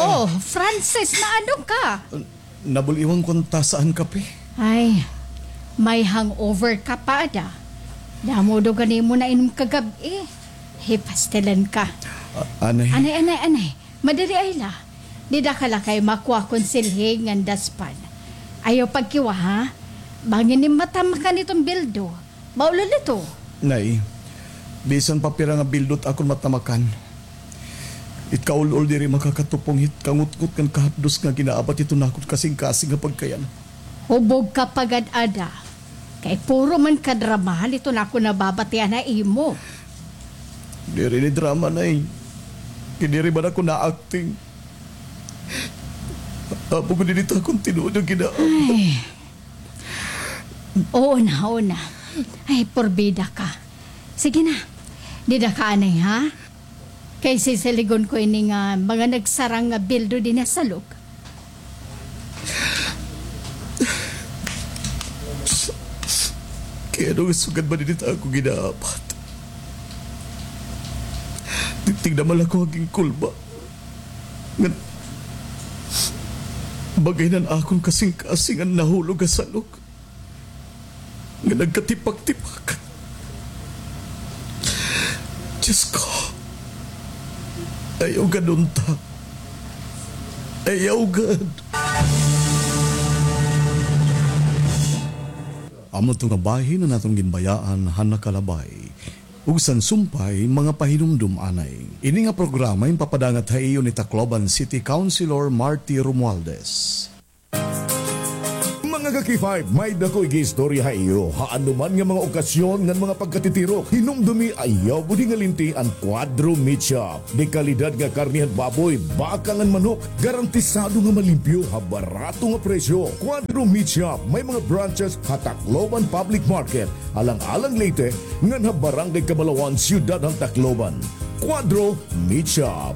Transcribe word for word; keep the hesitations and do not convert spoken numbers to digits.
Oh, Francis, naano ka? Nabul-iwan ko an tasa han kape. Ay, may hangover ka pa ada. Damo daw gad imo nainom kagab-i. Hipastilan ka. Ah, anay. Anay, anay, anay. Madali ay la. Dida ka la kay makuha kon silhig ngan daspan. Ayaw pagkiwa, ha? Bangin nim matamakan iton bildo. Maulol ito. Nay, bisan pa pira nga bildo it akon matamakan, it kaul-ol diri makakatupong hit kangutngot ngan kahapdos nga ginaabat hiton akon kasingkasing nga pagkayan. Hubog ka pa gad ada. Kay puro man ka dramahan iton akon nababatian ha imo. Diri ini drama, Nay. Kay diri man ako na-acting. Amo gud ini it akon tinuod nga ginaabat. Ay. Oo na, oo na. Ay, porbida ka. Sige na. Dida ka anay, ha? Kay sisiligon ko ini nga mga nagsarang nga bildo dinhi ha salog. Kay ano nga sugad man ini it akon ginaabat? Tingnan man la ako ha ginkulba. Ngan, baga ini an akon kasingkasing an nahulog ha salog nga nagkatipak-tipak. Diyos ko, ayaw gad unta. Ayaw gad. Amo ito nga bahin an aton ginbayaan han nakalabay. Ug san sumpay, mga pahinumdom anay. Ini nga programa ginpapadangat ha iyo ni Tacloban City Councilor Marty Romualdez. Mga ka-K five, may-ada ko igiistorya ha iyo. Ha anoman nga mga okasyon ngan mga pagkatitirok, hinumdumi, ayaw budi nga linti an Cuadro Meat Shop. Dekalidad nga karne han baboy, baka ngan manok, garantisado nga malimpyo ha barato nga presyo. Cuadro Meat Shop, may mga branches ha Tacloban Public Market, Alang-alang, Leyte, ngan ha Barangay Cabalawan, Siyudad han Tacloban. Cuadro Meat Shop.